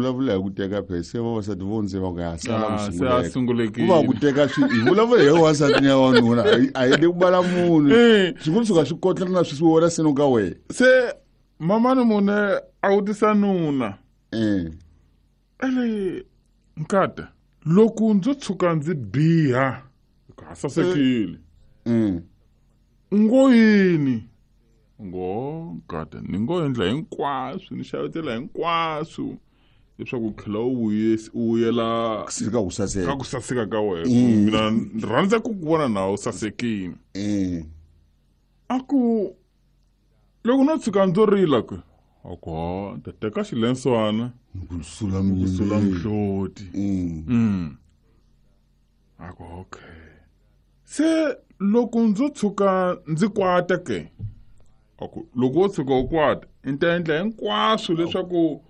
Vulavula hi ku teka phe se vavasati vo ndze va ku ya sala ku Ah, se a sunguleka. Ku sungulekile. va ku teka swi hi vulavula hi wansati ni ya wanuna a hi le ku bala munhu. Swi ngo tshuka swi kotlana na swi wela seno ka wena. Se mamani mune a vutisa nuna. Ele nkata loko ndzo tshuka ndzi biha ha sasekile. Ngo yini? Ngo nkata ni ngo endla hinkwaswo ni xavetela hinkwaswo leswaku u tlhela u vuyela ka ku saseka. Ka ku saseka ka wena. Mina ni rhandza ku ku vona na u sasekile. A ku loko no tshuka ndzo rila ku a ku ha ta teka xilenswana ku sula ku sula mihloti. A ku okay. Se loko ndzo tshuka ndzi kwata ke a ku loko wo tshuka u kwata ni ta endla hinkwaswo leswaku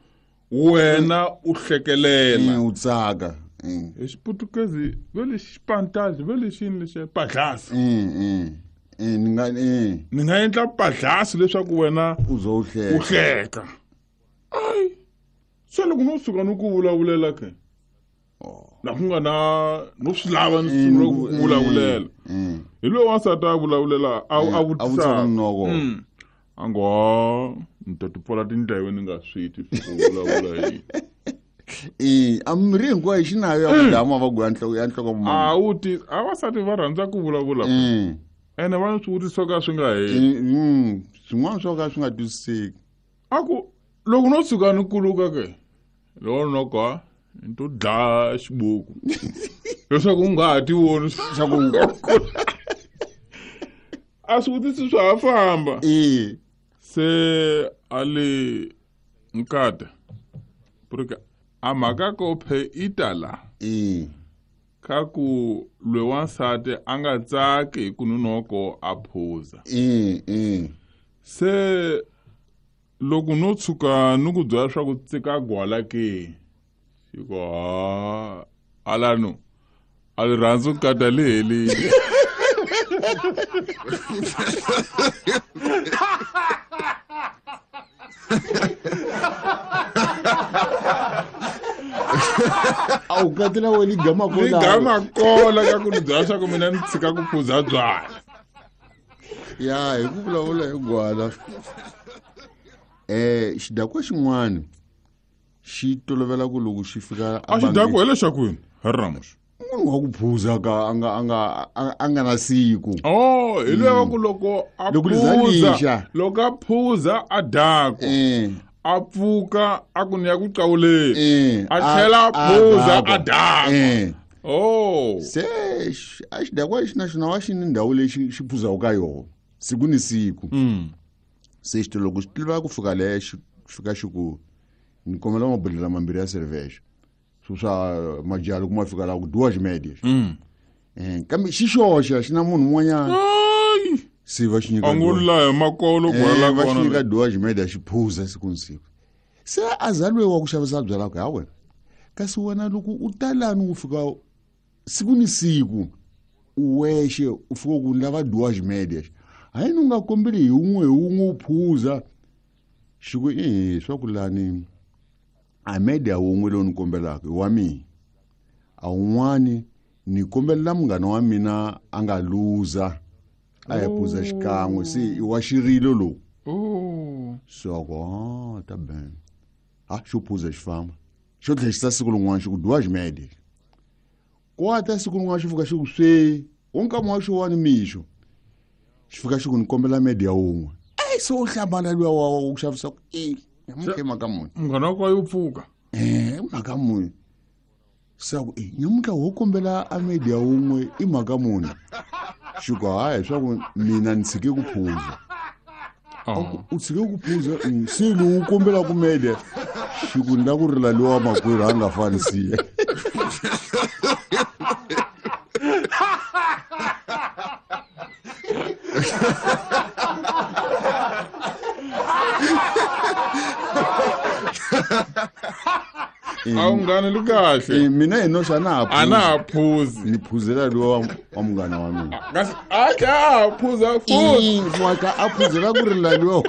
wena u hlekelela. U tsaka. Hi xiputukezi ve le xipantazi ve le xini lexiya padlasi. Ni nga Ni nga endla padlasi leswaku wena u zo u hleka. U hleka. Ai. Se loko no suka no ku vulavulela ke. La ku nga na no swi lava ni sungula ku vulavulela. Hi loyi wansati a vulavulela a A vutisa. vutisa noko. A ngo ni ta ti pfala tindleve ni nga swi twi swa ku vulavula yini. A mirhi hinkwayo xi nayo ya ku dlaya mavabyi ya nhloko ya nhloko mama. A wu ti a vasati va rhandza ku vulavula. Ene va swi vutisa ka swi nga heli. Swin'wana swo ka swi nga twisiseki. A ku loko no tshuka ni kuluka ke loko noko ni to dlaya xibuku leswaku u nga ha ti voni swa ku a swi vutisi swa ha famba. Se a le nkata porque a mhaka ko phe itala. Ka ku lwe wansati a nga tsaki hi ku nunoko a phuza. Se loko no tshuka ni ku byela swa ku tsika gwala ke xi ku ha alano a rirhandzu nkata li helile. A wu katela we ligama kola. Ligama kola ka ku ni byela swa ku mina ni tshika ku phuza byala. Ya hi ku vulavula hi gwala. Xidakwa xin'wana xi tolovela ku loko xi fika A xidakwa hi lexaku yini? Hi Ramos. Munhu wa ku phuza ka a nga na siku. Oh, hi loyi wa ku loko a Loko li za phuza, lixa. loko a phuza a dakwa. A pfuka a ku ni ya ku qawuleni. A tlhela a phuza a dakwa. Oh. Se a xidakwa lexi na xona wa xi ni ndhawu leyi xi phuzaka ka yona siku ni siku. Se xi loko xi tiva ku fika le xi fika xi ku ni kombela mabodhlela mambirhi ya cerveja. Swi swa majalo kuma fika la ku duas médias. Kambe xi xoxa xi na munhu un'wanyana. Ai! Se va xi nyika A ngo duas. la hi makolo kwala Va xi kona nyika le. duas médias xi phuza siku ni siku. Se a za loyi wa ku xavisa byalwa ku ha wena. Kasi wena loko u ta lani u fika siku ni siku u wexe u fika ku lava duas médias. Hayi u nga kombeli hi wun'we hi wun'we u phuza. Xi ku swa ku lani a media wun'we lowu ni kombelaka i wa mina. A wun'wani ni kombelela munghana wa mina a nga luza a ya phuza xikan'we se i wa xirilo lowu. Se a ku, ah, ta ben. Ha xo phuza xi famba. Xo tlhela xi ta siku rin'wana xi ku duas médias. Kwata siku rin'wana xi fika xi ku swe, wo nkama wa xowani mixo. Xi fika xi ku ni kombela media wun'we. Ai se u hlamala luya wa ku xavisa ku nyamutlha i mhaka muni? Munghana wa ka yo pfuka. Mhaka muni? Se a ku, nyamutlha wo kombela a media wun'we i mhaka muni? Xi ku, hayi, swa ku mina ni tshike ku phuza. U tshike ku phuza, se lowu u kombelaka media, xi ku ni la ku rila lowa makwerhu a nga fani siya. A wu nghani li kahle. Mina hi noxa na ha A na ha phuzi. Ni phuzela lowa wa munghana wa mina. Kasi a tlhela a ha phuza futhi. Wa ka a phuzela ku rila lowa.